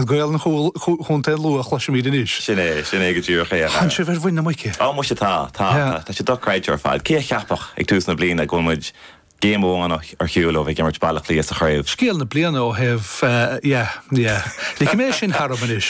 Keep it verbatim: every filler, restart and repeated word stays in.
Gaeil Chontae an Lú a chloisimid anois. Sin é sin é go díreach é. Tá sibh ar mhuin na muice. Á muise tá tá tá sé dochreidte ar fad. Cé a cheapfadh ag tús na bliana go muid géim amháin ar shiúl ó bheith ag imirt Baile Átha Cliath sa chraobh. Scéal na bliana ó thaobh yeah yeah. Le mé sin tharam anois.